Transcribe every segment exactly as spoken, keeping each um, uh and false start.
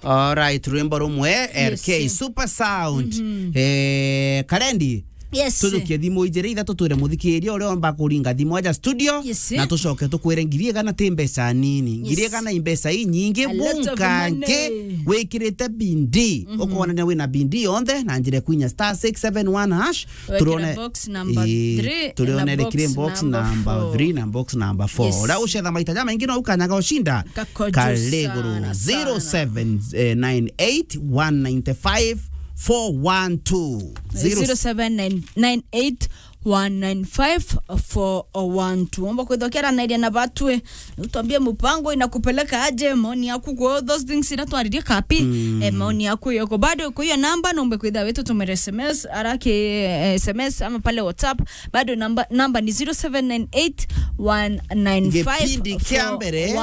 Alright, rwimbo rumwe, Yes. R K Super Sound. Mhm. Eh, Karendi, Yes. tujukie thimu ijiri ithatu twire muthikiria uria omba kuringa thimu aja studio, Yes. na tucoke tukwire ngiri igana ti mbeca nini. Yes. Ngiri igana i mbeca inyingi, A lot of bunka money. Nki, wikirite bindi. Mhm. Ukwonania wina bindi yonthe na njira kwinya star six seven one hash. Wekira Turone, box number ii, three turone na rekire box box number number four. Three na box number four. Yes. Uria ucetha maita jamaingi no ukanyaga ucinda. Kakojo Kale iguru. Sana, sana. Zero seven nine eight one nine five four one two. Zero zero seven nine eight one nine five four one two. Omba kwithwa kiaranairia na batwe. Utwambie mpango inakupeleka aje, maoni yaku kwa those things ira twaririe kapi. Mm. Eh, maoni yaku yoko. Bado kwa hiyo namba, nombe kwitha wetu tumere S M S, araki, eh, S M S ama pale WhatsApp. Bado namba, namba ni zero seven nine eight one nine five four one two. Gipindi kia mbere,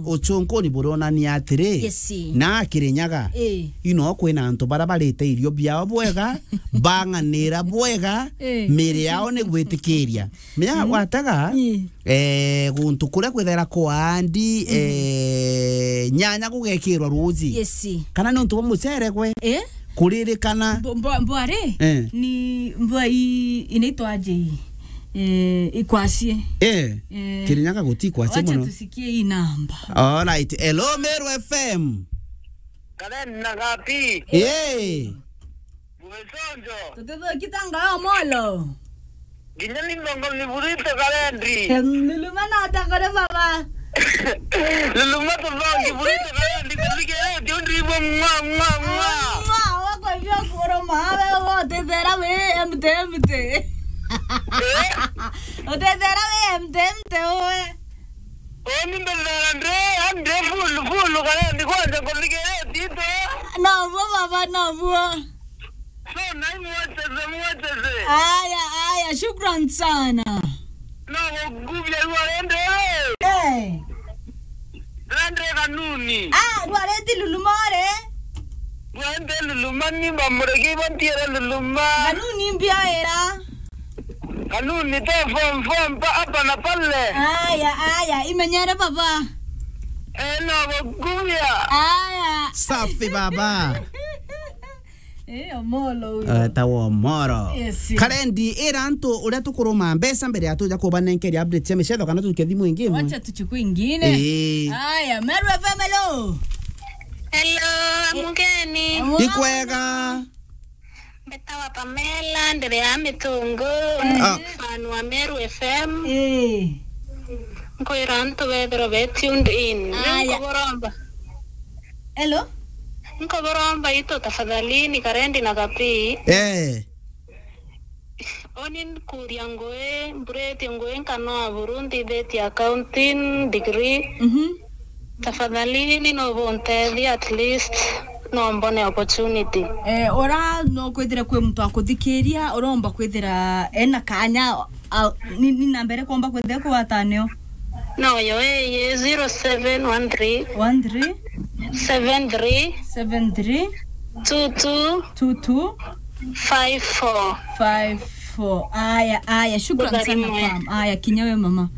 ucunkuni buronania atiri, Yes. na Kirinyaga, Eh. ino kwina antu bara barite irio biao bwega, bang'anira bwega, Eh. miri yao ni gwitikiria. Menya Mm. gwataga, Ii. eh, guntu kuria kwithaira kwaandi, Mm. eh, nyanya gugekirwa ruuji. Yes. Kana ni untu bwa mucere gwe? Eh? Kuririkana. Mbo-, mbo-, mbwari? Eh. Ni mbwa i-, inaitwa aje ii? Eh, ikwacie. Eh, Eh. Kirinyaga guti ikwacie Wacha muno. Tusikie hii namba. Alright. Hello, Meru F M. Karen na Gapi. Eh. Mwesonjo. Tututhuki tanga yo molo. Nginya ni mbongo ni burito Karendi. Em, Luluma na takore baba. Luluma tubongi burito Karendi, kuthike yo, ndi mwa, mwa, mwa. Mwa, wako hivyo kuro mawe, utethera we, empty, empty. Eh? Utethera we, empty, empty, we. Oni mbethera ndi, ndi full, full, Karendi, kwanja kuthike yo, tito. No, bo baba, no, bo. So, nai mwecheze, mwecheze. Aya, aya, shukran sana. No, gugubia rwarende. Eh. Rande kanuni. Ah, rwareti Luluma ore? Rwarende Luluma ni bamurege ibo ntiere Luluma. Kanuni mbia era. Kanuni te form, form, pa, hapa na pale. Aya, aya, imenyere baba. Eh, no, gugubia. Aya. Safi baba. Eh, Omolo uyo. Eh, ta wa Omoro. Yes. Karendi, ira antu uria tukuruma mbeca mbere ya tuja kubanenkeria update cia micetho kana tujuke thimu ingi imwe. Wacha tuchukue ingine. Eh. Aya, Meru F M, hello. Hello, Eh, amukeni. Amukeni. Ikwega. Mbetawa Pamela, ndiri ya Mitungu. Eh. Ah. Fan wa Meru F M. Eh. Nkwira antu bethirwa be tuned in. Aya. Nkuburomba. Hello? Nkuburomba itu tafadhalini Karendi na Kapi. Eh. Oni nkuria ngui, mburetie ngui nkanoa buru nthithitie accounting degree. Mhm. Tafadhalini no buntethia at least no mbone opportunity. Eh, ora no kwithire kwi muntu akuthikiria, uromba kwithira ena kanya, a, ni, ni namba iria kwomba kwithira kugwatanio? No, yo eye zero seven one three one three seven three seven three two two two two five four five four. Aya, aya, shukran sana, Pam. Aya, kinya we mama.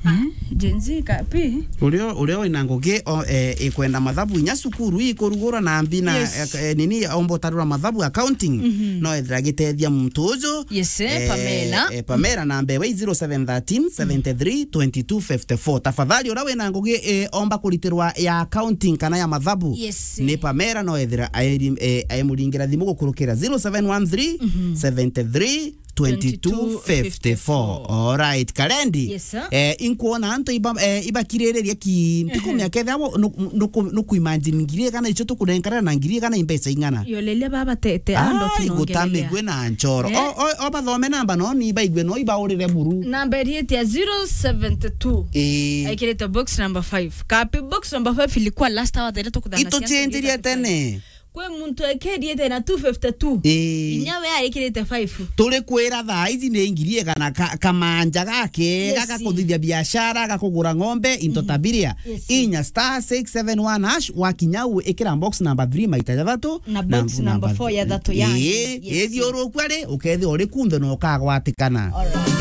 Eh, Gen Z Kapi. Uria, uria wina ngugi, o, eh, ikwenda mathabu inya cukuru ikurugura na mbi na, Yes. eh, eh, nini, omba utarura mathabu accounting, Mhm. no ethira gitethia muntu uju. Yes, eh, Eh, Pamela. Eh, Pamela, namba ewe zero seven thirteen seventy three twenty two fifty four. Tafadhali, uria wina ngugi, eh, omba kuritirwa ya accounting kana ya mathabu. Yes. Ni Pamela, no ethira aeri-, eh, aemuringira thimu gukurukira zero seven one three seventy three twenty two fifty four. Alright, Karendi. Yes, sir. Eh, inkuona antu iba, eh, ibakiririria ki, ntikumia kethira bo, nu-, nu-, nuku-, nukuimagine ngiri igana icio tukunenkana na ngiri igana i mbeca ing'ana? Yo lelia baba te, te, ando Ai, tunaongelelea. Gutamigwe na nchoro. Eh? O, o, o bathome namba no ni baigwe no ibaurire buru. Namba iriite ya zero seventy two. Eh. Aikirite box number five. Kapi box number five ilikuwa last hour thaira tukuthangasia Ituchenjirie tene. Kwi muntu ekiriite na two fifty two. Ii. Inya we aikirite five. Turi kwira thaa ici ni ngiri igana ka-, kamanja gake, Yes. gaka kuthithia biashara, gakugura ng'ombe, into Mhm. tabiria. Yes. Inya star six seven one hash, wakinya u ikira box number three maita jathatu, Na box number four ya thatu ya. Ii, Yes. ithiuruku ari, ukethia uri kunthe na ukagwatikana. Alright.